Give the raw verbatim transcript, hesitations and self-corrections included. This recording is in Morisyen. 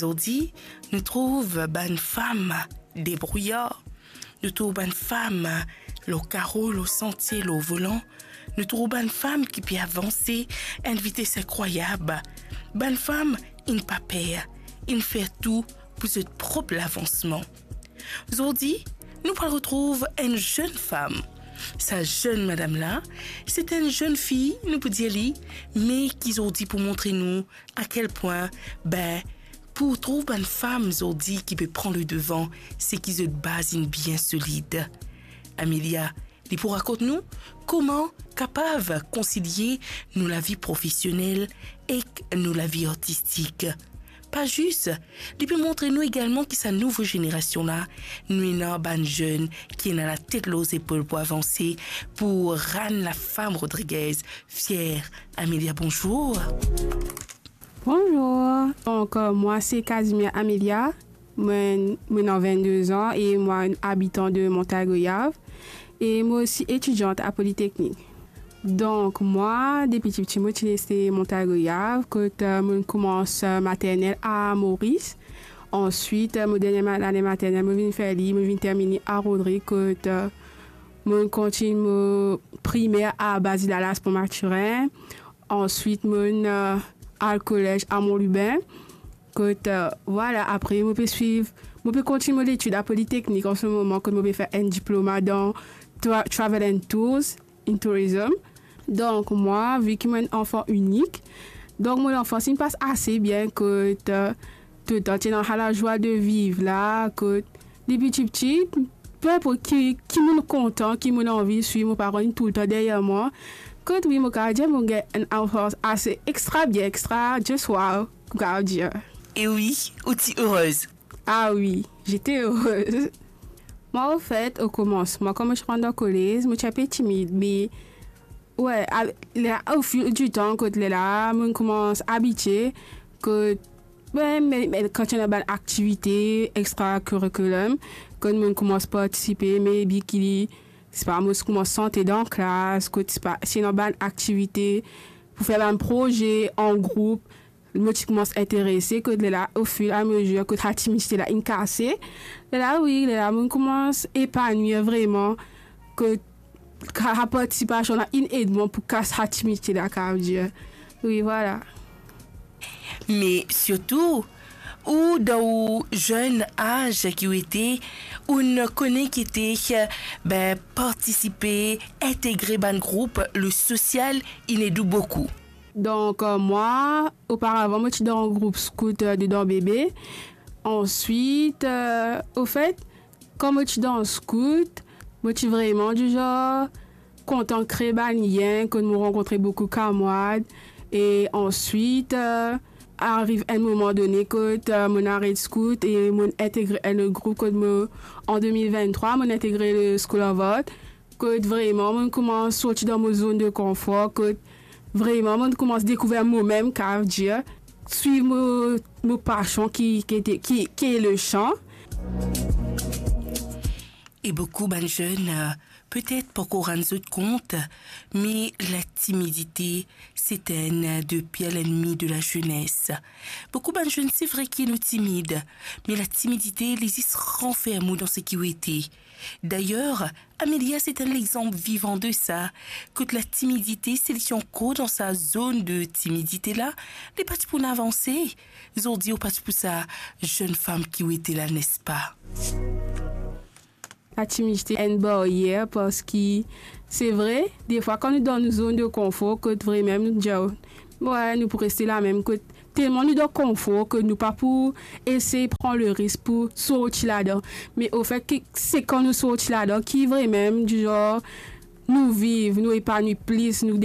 Zordi, nou trouv bann fam debrouyar, nou trouv bann fam lor karo, lor santie, lor volan, nou trouv bann fam ki pe avanse enn vites inkrwayab, bann fam inn pa per, inn fer tou pou zot prop lavansman. Zordi, nou pral retrouv enn zenn fam. Sa zenn madam la, se enn zenn fi, nou pou dir li, me ki zordi pou montre nou a kel pwin, be, pou trouv bann fam zordi ki pe pran ledevan, se ki zot baz inn bien solid. Amelia, li pou rakont nou kouma kapav konsilie nou lavi profesionel ek nou lavi artistik. Pa zis, li pe montre nou egalman ki sa nouvo zenerasion la, nou ena bann zenn ki ena latet lor zepol pou avanse, pou rann lafam Rodriguez fier. Amelia, bonzour. Bonzour. Donk, euh, mwa se Casimir Amelia. Mwa, mwa ena vennde zan e mwa enn abitan de Montagne Goyave. E mwa osi etidiant a Politeknik. Donk, mwa, depi tipti, mo ti reste Montagne Goyave, kot, euh, mo koumans, euh, maternel a Moris. Answit, euh, mo dernie ma-, lane maternel, mo vinn fer li, mo vinn terminn li a Rodrig, kot, euh, mo kontign mo primer a Bazilalas Pont Mathurin. Answit, mo, euh, al kolez a Mont Lubin. Kot, euh, vwala, apre, mo pe swiv, mo pe kontign mo letid a Politeknik an se moman, kot mo pe fer enn diploma dan tra-, Travel and Tours, in Tourism. Donk, mwa, vi ki mo enn anfan inik, donk, mo lanfans inn pas ase bien, kot, euh, toultan ti ena sa lazwa de viv la, kot, depi tipti, pe inport ki, ki mo kontan, ki mo anvi swiv, mo paran inn toultan deryer mwa. Kot wi, mo kapav dir mo gagn enn anfans ase extra bien, extra, just wow, mo kapav dir. E wi, ou ti erez. Ah wi, j'étais heureuse. Mwa, anfet, o komansman, kan mo ti rant dan kolez, mo ti inpe timid, me, we, a, ler, au fil du temps, kot lerla, mo koumans abitie, kot, we, me, me kan ti ena bann aktivite extracurriculum, kot mo koumans partisipe, maybe ki, sepa, mo koumans sante dan klas, kot, sepa, si ena bann aktivite pou fer bann proze an group, mo ti koumans interese, kot lerla, au fur et à mesure, kot sa timidite la inn kase. Lerla, wi, lerla, mo koumans epanwir vreman, kot sa, sa partisipasion la inn ed mwa pou kas sa timidite la, kapav dir. Wi, vwala. Me sirtou, ou dan ou zenn az ki ou ete, ou'nn kone ki ete, be, partisipe, integre bann group, le sosial, inn ed ou boukou. Donk, euh, mwa, oparavan, mo ti dan group skout, euh, dedan bebe. Answit, euh, anfet, kan mo ti dan skout, mo ti vreman dizar kontan kre bann lien, kot mo rankontre boukou kamarad. E answit, euh, ariv enn moman done kot, euh, mo aret skout e mo integre enn lot group kot mo, an de mil venntrwa, mo integre le School of Art. Kot vreman, mo koumans sorti dan mo zone de confort, kot vreman, mo koumans dekouver momem, kapav dir, swiv mo, mo pasion ki, ki ete, ki, ki le san. E boukou bann zenn, euh, petet pankor rann zot kont, me latimidite, se enn de pir lennmi de lazenes. Boukou bann zenn, se vre ki nou timid, me latimidite, li zis ranferm ou dan seki ou ete. Dayer, Amelia, se enn lexanp vivan de sa, kot latimidite, si li ti ankor dan sa zone de timidite la, li pa ti pou avanse. Zordi, ou pa ti pou sa zenn fam ki ou ete la, nespa? Latimidite enn baryer, parski se vre, defwa, kan nou dan nou zone de confort, kot vremem nou dir, we, nou pou reste la mem, kot telman nou dan konfor ki nou pa pou esey pran le risk pou sorti ladan. Me anfet, ki, se kan nou sorti ladan ki vremem, dizar, nou viv, nou epanwi plis, nou